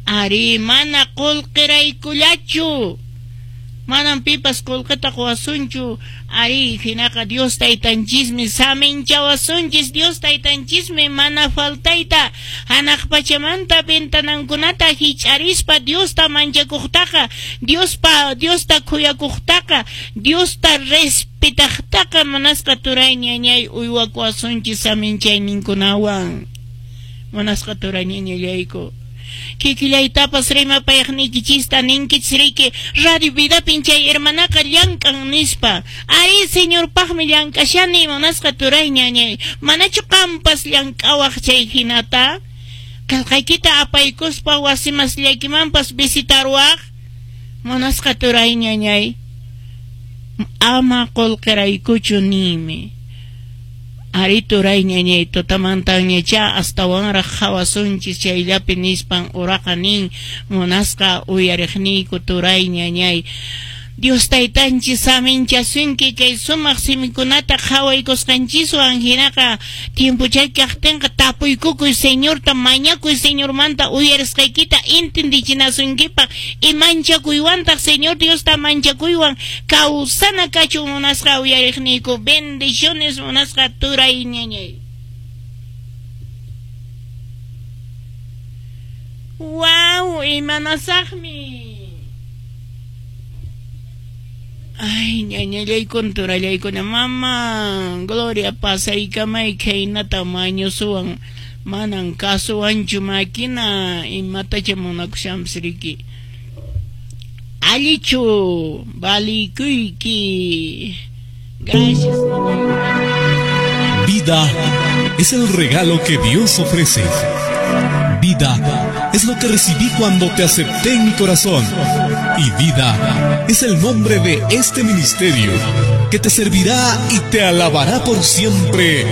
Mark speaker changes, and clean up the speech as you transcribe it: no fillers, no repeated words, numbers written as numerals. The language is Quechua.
Speaker 1: Arí, mana qullqiraykullachu. Manam pipas qullqita quwasunchu. Arí, hinaqa Dios Taytanchismi saminchawasunchis. Dios Taytanchismi mana faltayta hanaq pachamanta ventanankunata hich'arispa Diosta manchakuqtaqa, Diospa Diosta khuyakuqtaqa, Diosta respetaqtaqa munasqa turay ñañay uywakuwasunchis saminchayninkunawan. Munasqa turay ñañallayku. Kikillaytapas rimapayaqniykichista ninkichis riki, Radio Vidapin chay hermanaqa llank'an nispa. Arí, Señorpaqmi llank'ashani, munasqa turay ñañay. Manachu qampas llank'awaq chay hinata? Qelqaykita apaykuspa wasimasllaykimanpas visitarwaq? Munasqa turay ñañay, ama qullqiraykuchu niymi. Arí, turay ñañay, tutamantañachá astawanraq qhawasunchis chayllapi nispan uraqa nin, munasqa uyariqniyku turay ñañay. Dios Taytanchis saminchasunki kay sumaq simikunata qhawaykusqanchiswan, hinaqa tiempuchay kaqtinqa tapuykukuy Señorta, mañakuy Señormanta uyarisqaykita entendichinasunkipaq y manchakuywantaq Señor Diosta manchakuywan kawsana kachun munasqa uyariqniyku. Bendiciones munasqa turay ñañay. Wow, imanasaqmi. Ay, ñañallaykuna, turallaykuna, mama, Gloria, pasaykamay khaynata mañusuwan, manan kasuwanchu máquina, imatacha munakushanpis riki. Allichu, valikuyki. Gracias.
Speaker 2: Vida es el regalo que Dios ofrece. Vida es lo que recibí cuando te acepté en mi corazón. Y vida es el nombre de este ministerio que te servirá y te alabará por siempre.